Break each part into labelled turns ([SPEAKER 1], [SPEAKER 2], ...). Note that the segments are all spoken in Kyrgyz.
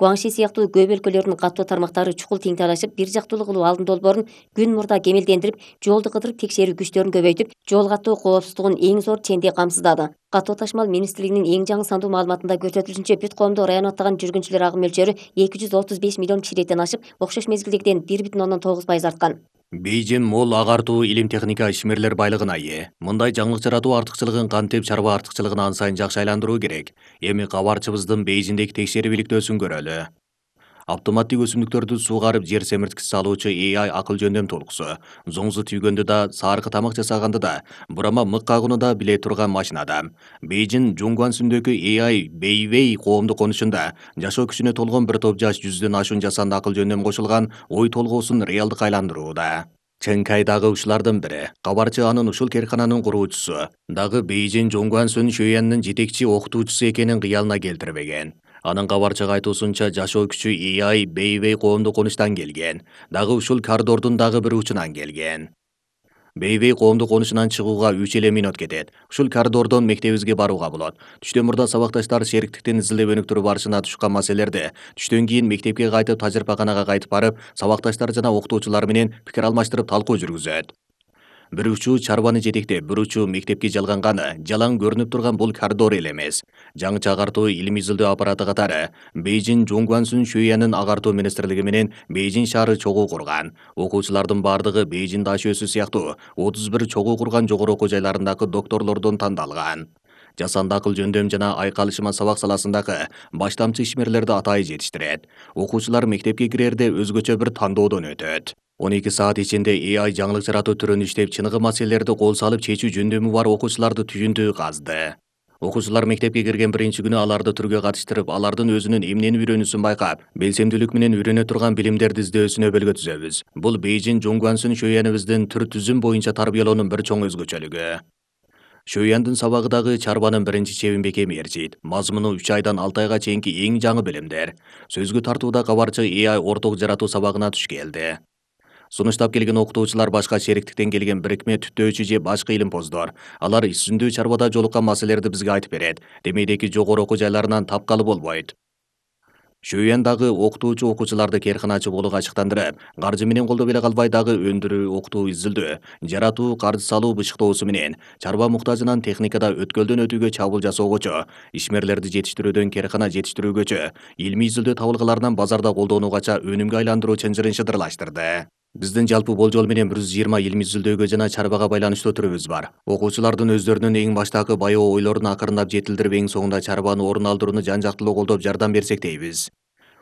[SPEAKER 1] Гуаңши сыяктуу көп өлкөлөрдүн каттуу тармактары чукул тең талашып, бир жактуулуу кылуу алдын долбоорун күн мурда кемелдендирип, жолду кыдырып текшерүү күчтөрүн көбөйтүп, жол каттоо коопсуздугун эң зор ченде камсыздады. Каттоо ташмал министрлигинин эң жаңы сандуу маалыматында көрсөтүлүшүнчө, бүт коомдо район аттаган жүргүнчүлөр агым мөлчөрү 235 миллион кишиликтен ашып, окшош мезгилдегиден 1,9% арткан.
[SPEAKER 2] Бейжин мол агартуу илим техника ишмерлер байлыгына ээ. Мындай жаңылык жаратуу артыкчылыгын кантип чарба артыкчылыгын ан сайын жакшы айландыруу керек. Эми кабарчыбыздын Бейжиндеги текшерүү иликтөөсүн көрөлү. Автоматтык өсүмдүктөрдү суугарып жер семирткичи салуучу AI акыл жөндөм толкусу. Зоңзу түйгөндө да, саркы тамак жасаганды да, бурама мык кагууну да биле турган машинада. Бейжин Жунгуансүндөгү AI Бейвей коомдук конушунда жашоо күчүнө толгон бир топ жаш 100дөн ашуун жасанды акыл жөндөм кошулган ой толгоосун реалдыкка айландырууда. Чен Кай дагы ушулардын бири. Кабарчы анын ушул керкананын куруучусу. Дагы Бейжин Жоңгуансүн Шөйяннын жетекчи окутуучусу экенин кыялына келтирбеген. Анын кабарчыга айтуусунча, жашоо күчү AI Бейвей коомдук конуштан келген. Дагы ушул коридордун дагы бир учунан келген. Бейвей коомдук конушунан чыгууга 3 мүнөт кетет. Ушул коридордон мектебибизге барууга болот. Түштөн мурда сабакташтар шериктиктин изилдеп өнүктүрүү барышына тушкан маселелерди түштөн кийин мектепке кайтып, тажрыйбаканага кайтып барып, сабакташтар жана окутуучулар менен пикир алмаштырып талкуу жүргүзөт. Бир учуу чарбаны жетектеп, бир учуу мектепке жалганганы, жалаң көрүнүп турган бул коридор эле эмес. Жаңыча агартуу илим изилдөө аппараты катары Бейжин Жоңгуансүн Шөйянын агартуу министрлиги менен Бейжин шаары чогуу курган. Окуучулардын бардыгы Бейжин Дашөөсү сыяктуу 31 чогуу курган жогору окуу жайларындагы докторлордон тандалган. Жасанды акыл жөндөм жана айкалышма сабак саласындагы баштамчы ишмерлерди атайы жетиштирет. Окуучулар мектепке кирерде өзгөчө бир тандоодон өтөт. 12 саат ичинде AI жаңылык жаратуу түрүн иштеп, чыныгы маселелерди кол салып чечүү жөндөмү бар окуучуларды түйүндүү казды. Окуучулар мектепке кирген биринчи күнү аларды түргө катыштырып, алардын өзүнүн эмнени үйрөнүүсүн байкап, белсемдүүлүк менен үйрөнө турган билимдерди издөөсүнө бөлгө түзөбүз. Бул Бейжин Жоңгуансүн Шөйяныбыздын түр түзүм боюнча тарбиялоонун бир чоң өзгөчөлүгү. Шөйяндын сабагы дагы чарбанын биринчи чебин бекем ээрчийт. Мазмуну 3 айдан 6 айга чейинки эң жаңы билимдер. Сөзгө тартууда кабарчы AI орток жаратуу сабагына туш келди. Сунуштап келген окутуучулар башка шериктиктен келген бирикме түттөөчү же башка илимпоздор. Алар ишсүндүү чарбада жолуккан маселелерди бизге айтып берет. Демейдеги жогору окуу жайларынан тапкалы болбойт. Шөйян дагы окутуучу окуучуларды керканачы болууга ачыктандырып, каржы менен колдоп эле калбай дагы өндүрүү, окутуу, изилдөө, жаратуу, каржы салуу бышыктоосу менен чарба муктажынан техникада өткөлдөн өтүүгө чабуул жасоогочо, ишмерлерди жетиштирүүдөн керкана жетиштирүүгөчө, илимий изилдөө табылгаларынан базарда колдонуугача өнүмгө айландыруу чынжырын шыдырлаштырды. Биздин жалпы болжол менен 120 илимий изилдөөгө жана чарбага байланыштуу түрүбүз бар. Окуучулардын өздөрүнүн эң баштагы баяоо ойлорун акырындап жетилдирип, эң соңунда чарбаны орун алдырууну жан жактылуу колдоп жардам берсек дейбиз.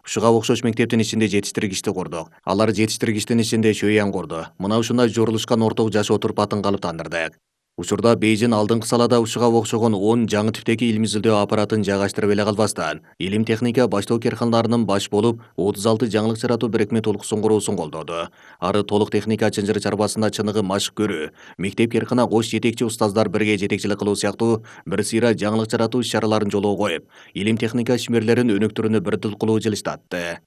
[SPEAKER 2] Ушуга окшош мектептин ичинде жетиштиргичти курдук. Алар жетиштиргичтин ичинде Шөйян курду. Мына ушундай жорулушкан орток жашоо турпатын калыптандырдык. Учурда Бейжин алдыңкы салада ушуга окшогон 10 жаңы типтеги илим изилдөө аппаратын жайгаштырып эле калбастан, илим техника баштоо керканаларынын баш болуп, 36 жаңылык жаратуу бирикме толкусун куруусун колдоду. Ары толук техника чынжыр чарбасында чыныгы машык көрүү, мектеп керкана кош жетекчи устаздар бирге жетекчилик кылуу сыяктуу бир сыйра жаңылык жаратуу иш-чараларын жолго коюп, илим техника ишмерлерин өнүктүрүүнү бир тил кылуу жылыштатты.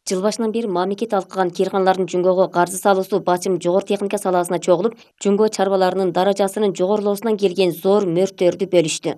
[SPEAKER 1] Жыл башынан бери мамлекет алкаган керканалардын Жүнгөгө каржы салуусу бачым жогору техника саласына чогулуп, Жүнгө чарбаларынын даражасынын жогорулоосунан келген зор мөрттөрдү бөлүштү.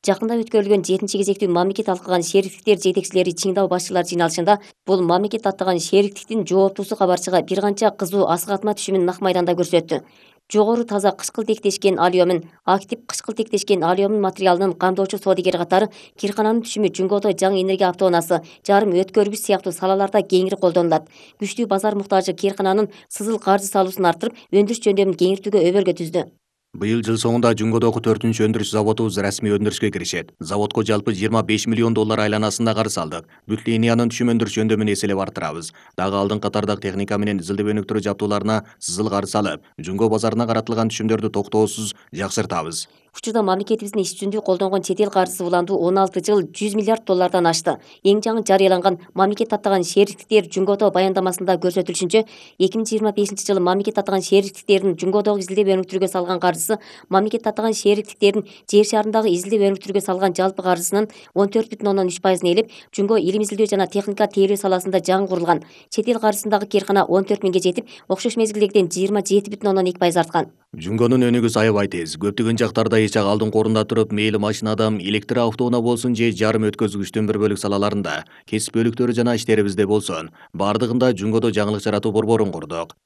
[SPEAKER 1] Жакында өткөрүлгөн 7-кезектүү мамлекет алкаган шериктиктер жетекчилери Чиңдау башчылар жыйналышында бул мамлекет аттаган шериктиктин жооптуусу кабарчыга бир канча кызуу асык-атма түшүмүн нак майданда көрсөттү. Жогору таза кычкыл тектешкен алюмин, актив кычкыл тектешкен алюмин материалынын камдоочу соодигери катары киркананын түшүмү Жүнгөдө жаңы энергия автоунаасы, жарым өткөргүч сыяктуу салаларда кеңири колдонулат. Күчтүү базар муктажы киркананын сызыл каржы салуусун арттырып, өндүрүш жөндөмүн кеңиртүүгө өбөлгө түздү.
[SPEAKER 2] Быйыл жыл соңунда Жүнгөдөгү 4-үнчү өндүрүш заводубуз расмий өндүрүшкө киришет. Заводко жалпы 25 миллион доллар айланасында карыз алдык. Бүт линиянын түшүм өндүрүш жөндөмүн эселеп арттырабыз. Дагы алдыңкы катардагы техника менен изилдеп өнүктүрүү жабдууларына сызыл карыз салып, Жүнгө базарына каратылган түшүмдөрдү токтоосуз жакшыртабыз. Учурда
[SPEAKER 1] мамлекетибиздин иш-жүзүндө колдонгон чет эл каржысы уландуу 16 жыл 100 миллиард доллардан ашты. Эң жаңы жарыяланган мамлекет аттаган шериктиктер Жүнгөдө баяндамасында көрсөтүлүшүнчө, 2025 жылы мамлекет аттаган шериктиктердин Жүнгөдөгү изилдеп өнүктүрүүгө салган каржысы мамлекет аттаган шериктиктердин жер шарындагы изилдеп өнүктүрүүгө салган жалпы каржысынын 14,3% ээлеп, Жүнгө илим изилдөө жана техника тейлөө саласында жаңы курулган. Чет эл каржысындагы керкана 14 миңге жетип, окшош мезгилдегиден 27,2% арткан.
[SPEAKER 2] Жүнгөнүн өнүгүүсү аябай тез. Көптөгөн жактарда нече алдыңкы орунда туруп, мейли машинадан электр автоунаа болсун же жарым өткөзгүчтүн бир бөлүк салаларында, кесип бөлүктөрү жана иштерибизде болсун, бардыгында Жунгодо жаңылык жаратуу борборун курдук.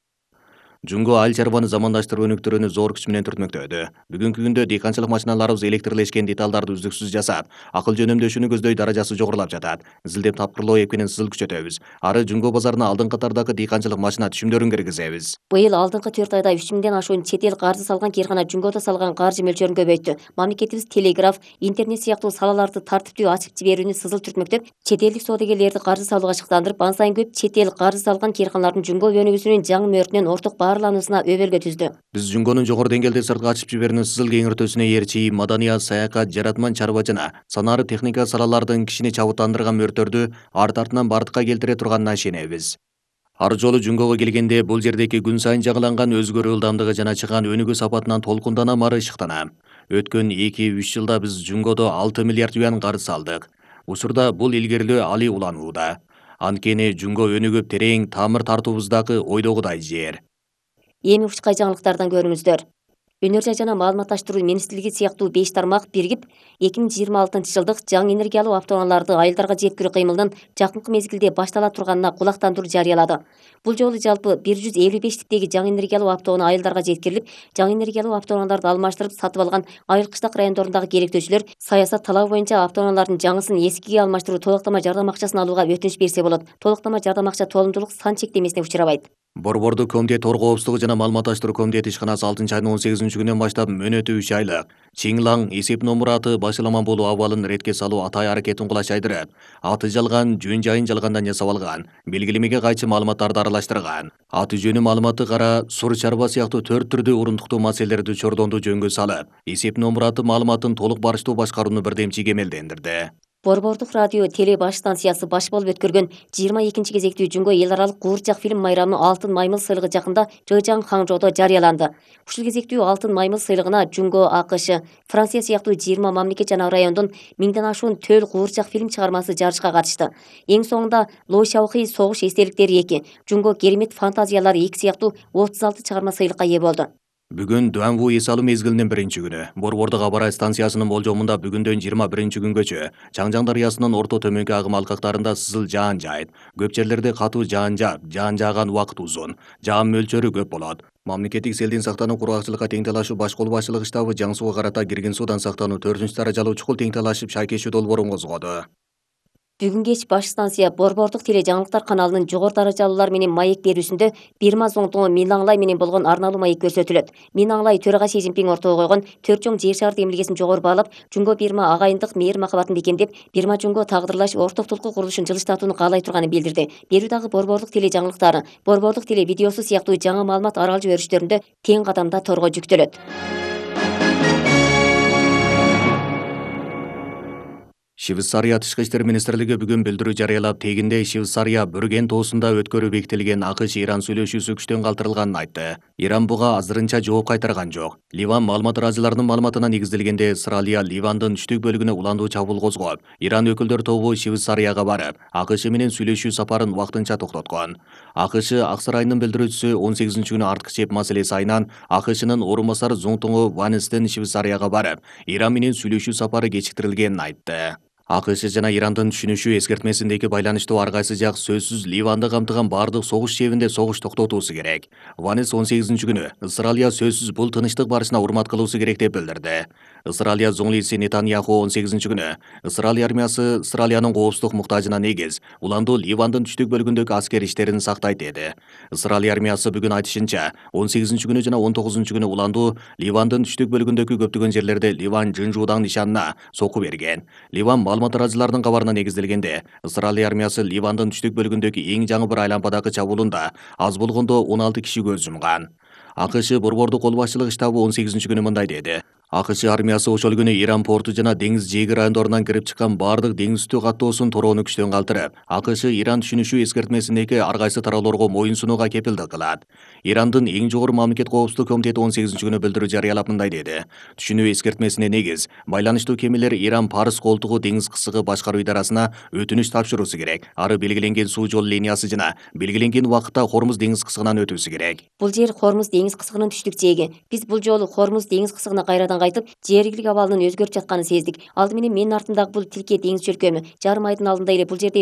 [SPEAKER 2] Жунго айыл чарбаны замандаштыруу өнүктүрүүнү зор күч менен түртмөктөдү. Бүгүнкү күндө дыйканчылык машиналарыбыз электрлешкен деталдарды үздүксүз жасап, акылчы өнөмдөшүүнү көздөй даражасы жогорулап жатат. Изилдеп тапкырлоо эп менен сызыл күчөтөбүз. Ары Жунго базарына алдыңкы катардагы дыйканчылык машина түшүмдөрүн киргизебиз.
[SPEAKER 1] Быйыл алдыңкы 4 айда 3000ден ашуун чет эл каржы салган кыйркана Жунгодо салган каржы мөлчөрүн көбөйттү. Мамлекетибиз телеграф, интернет сыяктуу салаларды тартиптүү ачып жиберүүнү сызыл түртмөктөп, чет элдик соодагерлерди каржы салууга шыктандырып, ан сайын көп чет эл каржы салган кыйрканалардын Жунго өнүгүүсүнүн жаңы мөөрүнөн орток баарлануусуна өбөлгө түздү.
[SPEAKER 2] Биз Жунгонун жогору деңгээлде сыртка ачып жиберүүнүн сызыл кеңиртүүсүнө ээрчи маданият, саякат, жаратман чарба жана санаары техника салалардын кишини чабыттандырган мөөртөрдү арт артынан бардыкка келтире турганына ишенебиз. Ар жолу Жунгого келгенде бул жердеки күн сайын жаңыланган өзгөрүү ылдамдыгы жана чыган өнүгүү сапатынан толкунданам, ары ышыктанам. Өткөн 2-3 жылда биз Жунгодо 6 миллиард юан карыз салдык. Учурда бул илгерилөө али уланууда. Анткени Жунго өнүгүп терең тамыр тартуубуздагы ойдогудай жер.
[SPEAKER 1] Эми учкай жаңылыктардан көрүңүздөр. Өнөр жай жана маалыматташтыруу министрлиги сыяктуу 5 тармак биригип 2026-жылдык жаңы энергиялуу автоунааларды айылдарга жеткирүү кыймылынын жакынкы мезгилде баштала турганына кулактандыруу жарыялады. Бул жолу жалпы 155 типтеги жаңы энергиялуу автоунаа айылдарга жеткирилип, жаңы энергиялуу автоунааларды алмаштырып сатып алган айыл кыштак райондорундагы керектөөчүлөр саясат талабы боюнча автоунаалардын жаңысын эскиге алмаштыруу толуктама жардам акчасын алууга өтүнүч берсе болот. Толуктама жардам акча толумдуулук сан чектемесине учурабайт.
[SPEAKER 2] Борбордук комитет Ор коопсуздугу жана маалыматташтыруу комитети ишканасы 6-айдын 18-күнүнөн баштап мөөнөтү 3 айлык Чиңлаң эсеп номураты башыламан болуу абалын ретке салуу атай аракетин кулачайдырып, аты жалган, жөн жайын жалгандан жасап алган, белгилемеге кайчы маалыматтарды аралаштырган, аты жөнү маалыматы кара, сур чарба сыяктуу 4 түрдүү урундуктуу маселелерди чордонду жөнгө салып, эсеп номураты маалыматын толук барыштуу башкарууну бирдемчи кемелдендирди.
[SPEAKER 1] Борбордук радио теле баш станциясы баш болуп өткөргөн 22 кезектүү Жунго эл аралык куурчак фильм майрамы Алтын маймыл сыйлыгы жакында Жыжаң Хаңжоодо жарыяланды. Ушул кезектүү Алтын маймыл сыйлыгына Жунго, АКШ, Франция сыяктуу 20 мамлекет жана райондун 1000ден ашуун төл куурчак фильм чыгармасы жарышка катышты. Эң соңунда Ло Шаохи согуш эстеликтери 2, Жунго керемет фантазиялары 2 сыяктуу 36 чыгарма сыйлыкка ээ болду.
[SPEAKER 2] Бүгүн Дуанву эс алуу мезгилинин 1-күнү. Борбордук аба ырайы станциясынын болжомунда бүгүндөн 21-күнгөчө Чаңжаң дарыясынын орто төмөнкү агым алкактарында сызыл жаан жаайт. Көп жерлерде катуу жаан жаап, жаан жааган убакыт узун. Жаан мөлчөрү көп болот. Мамлекеттик селден сактануу кургакчылыкка тең талашуу баш кол башчылыгы штабы Жаң сууга карата кирген суудан сактануу 4-даражалуу чукул тең талашып шайкешүү долбоорун козгоду. Бүгүн
[SPEAKER 1] кеч баш станция Борбордук теле жаңылыктар каналынын жогору даражалуулар менен маек берүүсүндө Бирма Зоңтоңу Минаңлай менен болгон арналуу маек көрсөтүлөт. Минаңлай төрага Си Цзиньпин ортого койгон 4 чоң жер шары демилгесин жогору баалап, Жунго Бирма агайындык мээр махабатын бекемдеп, Бирма Жунго тагдырлаш ортоктулуку курулушун жылыштатууну каалай турганын билдирди. Берүү дагы Борбордук теле жаңылыктары, Борбордук теле видеосу сыяктуу жаңы маалымат арал жиберүүчтөрүндө тең кадамда торго жүктөлөт.
[SPEAKER 2] Швейцария Тышкы иштер министрлиги бүгүн билдирүү жарыялап, тегинде Швейцария Бүрген тоосунда өткөрүү бекитилген АКШ-Иран сүйлөшүүсү күчтөн калтырылганын айтты. Иран буга азырынча жооп кайтарган жок. Ливан маалымат ыраазыларынын маалыматына негизделгенде, Исраилия Ливандын түштүк бөлүгүнө уландуу чабуул козгоп, Иран өкүлдөр тобу Швейцарияга барып, АКШ менен сүйлөшүү сапарын вактынча токтоткон. АКШ Ак сарайынын билдирүүчүсү 18-күнү артык чеп маселеси айынан АКШнын орун басары Зоңтоңу Ванестен Швейцарияга барып, Иран менен сүйлөшүү сапары кечиктирилгенин айтты. АКШ жана Ирандын түшүнүшүү эскертмесиндеги байланыштуу ар кайсы жак сөзсүз Ливанды камтыган бардык согуш чебинде согуш токтотуусу керек. Ванес 18-күнү Исраилия сөзсүз бул тынычтык барышына урмат кылуусу керек деп билдирди. Исраилия зоңлиси Нетаньяху 18-күнү Исраилия армиясы Исраилиянын коопсуздук муктажына негиз уландуу Ливандын түштүк бөлүгүндөгү аскер иштерин сактайт деди. Исраилия армиясы бүгүн айтышынча 18-күнү жана 19-күнү уландуу Ливандын түштүк бөлүгүндөгү көптөгөн жерлерде Ливан Жынжуудаң нишанына соку берген. Ливан маалымат ыраазыларынын кабарына негизделгенде, Исраилия армиясы Ливандын түштүк бөлүгүндөгү эң жаңы бір айлампадагы чабуулунда аз болгондо 16 киши көз жумган. АКШ борбордук кол башчылыгы штабы 18-күнү мындай деди. АКШ армиясы ошол күнү Иран порту жана деңиз жээги райондорунан кирип чыккан бардык деңиз үстү каттоосун torоону күчтөн калтырып, АКШ Иран түшүнүшүү эскертмесиндеги ар кайсы тараалорго моюн сунууга кепилдик кылат. Ирандын эң жогору мамлекет коопсуздук комитети 18-күнү билдирүү жарыялап мындай деди. Түшүнүү эскертмесине негиз байланыштуу кемелер Иран Парс колтугу деңиз кысыгы башкаруу идарасына өтүнүч тапшыруусу керек. Ары белгиленген суу жол линиясы жана белгиленген убакытта Хормуз деңиз кысыгынан өтүүсү керек.
[SPEAKER 1] Бул жер Хормуз деңиз кысыгынын түштүк жээги. Биз бул жолу Хормуз деңиз кысыгына кайрадан кайтып, жергиликтик абалынын өзгөрүп жатканын сездик. Алды менен менин артымдагы бул тилке деңиз чөлкөмү. Жарым айдын алдында эле бул жерде